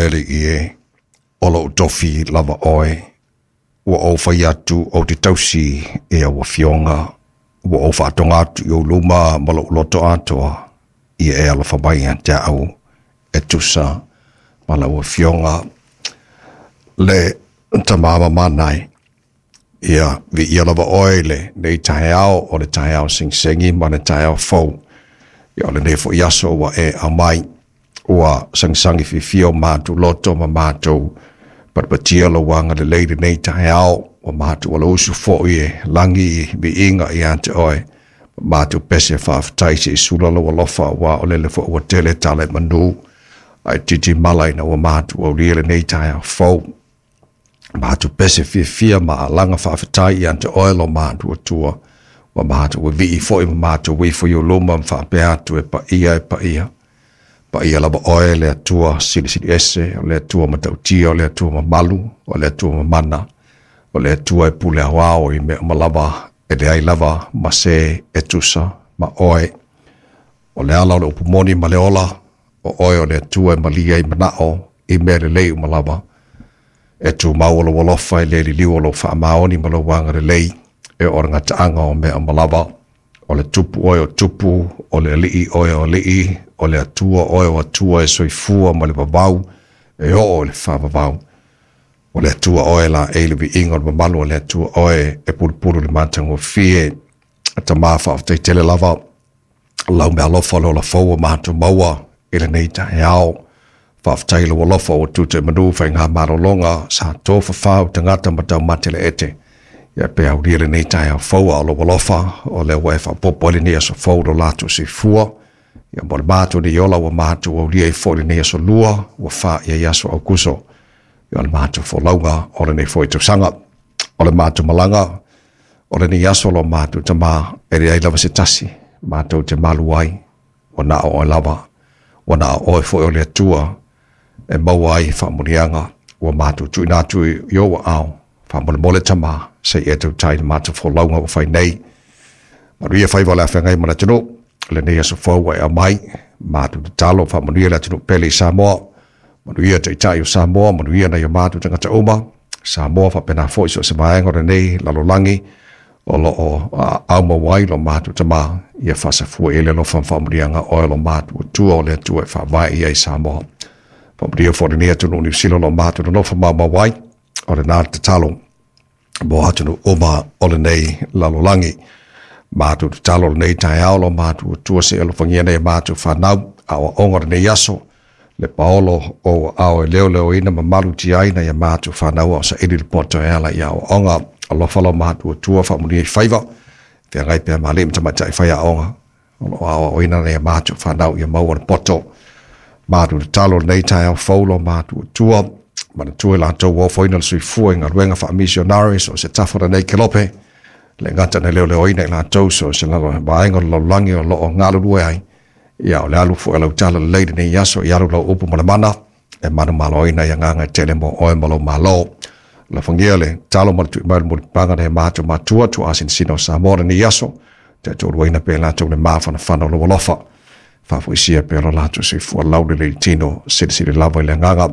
Le Alii e, o lou tofi lava oe, ua ou fai atu ou te tausi i au afioga, ua ou faatoga atu i ou luma ma lou loto atoa, ia e alofa mai ia te au e tusa ma lau afioga. Le Tama mamana e, ia viia lava oe i lenei taeao, o le taeao segisegi ma le taeao fou. Ia o lenei foi aso ua e aumai, ua sagisagi fiafia o matou loto ma matou patipatia lou agalelei i lenei taeao, ua matou alausu foi e lagi i viiga ia te oe. Ma matou pese faafetai se i sula lou alofa, aua o lele foi ua tele tala i manu, ae titi mala ina ua matou aulia lenei taeao fou. Matou pese fiafia ma alaga faafetai ia te oe lo matou Atua, ua matou vivii foi ma matou ifo i ou luma ma faapea atu e paia e paia. Paia lava oe le Atua silisili ese, o le Atua matautia, o le Atua mamalu, o le Atua mamana, o le Atua e pule aoao i mea uma lava, e leai lava ma se e tusa ma oe. O le ala o le upu moni ma le ola, o oe o le Atua e malie ai manao i mea lelei uma lava. E tumau o lou alofa e le liliu o lou faamaoni ma lou agalelei, e oo i le gataaga o mea uma lava. O le Tupu oe o tupu, o le Alii oe o alii, o le Atua oe o atua e soifua ma le vavau, e oo i le faavavau. O le Atua oe laei le viiga o le mamalu, o le Atua oe e pulupulu i le matagofie. Tama faafetai tele lava lau meaalofa o le ola fou ua matou maua i lenei taeao. Faafetai i lou alofa ua tuta i manu faigamalologa sa tofafau tagata ma taumate le ete. Ia pe aulia lenei taeao fou a o lou alofa, o lea ua e faaopoopo ai lenei aso fou lo latou soifua. Ia mo le matou nei ola ua matou aulia ai foi lenei aso lua, ua faia i aso Aukuso. Ia o le matou folauga o lenei foi tausaga. O le matou malaga o lenei aso lo matou Tama, e leai lava se tasi matou te malu ai, ua na o oe lava, ua na o oe foi o le Atua e maua ai faamanuiaga ua matou tuuina atu i ou aao. Faamolemole Tama, se i e tautai i le matou folauga ua fai nei. Manuia faiva o le afeagai ma le atunuu, lenei aso fou ua e aumai, matou tatalo faamanuia le atunuu pele i Samoa, manuia taitai o Samoa, manuia nai o matou tagata uma, Samoa faapena foi so o se vaega o lenei lalolagi, o lo o aumau ai lo matou Tama, ia faasafua i ai le alofa ma faamanuiaga oe lo matou Atua o le Atua e faavae i ai Samoa. Faamanuia foi lenei atunuu Niu Sila o lo matou nonofo maumau ai, o lena le tatalo mo atunuu uma o lenei lalolagi. Matou tatalo lenei taeao lo matou Atua se alofagia nei matou fanau, aoaoga o lenei aso, le paolo o ao e leoleoina ma malutiaina ia matou fanau a o saili le poto e ala i aoaoga. Alofa lo matou Atua faamanuia i faiva, feagai pea ma alii ma tamaitai faiaoga o lo o aoaoina nei matou fanau ia maua le poto. Matou tatalo lenei taeao fou lo matou Atua, manatua i latou ua ofoina le soifua i galuega faamisionare so o se tafa o lenei kelope, le gata na leoleoina i latou so o se vaega o le lalolagi o lo o galulue ai. Ia o le alu foi o lau tala lelei lenei aso, i alu lau upu ma le mana, e manumaloina i agaga e tele mo oe ma lou Malo. Alofagia le talo ma le tui mai o le mulipapaga nai matou matua tuaasinasina o Samoa lenei aso, taitoaluaina pea i latou le mafanafana o lou alofa. Faafoisia pea lo latou soifua laulelei i tino, silisili lava i le agaga.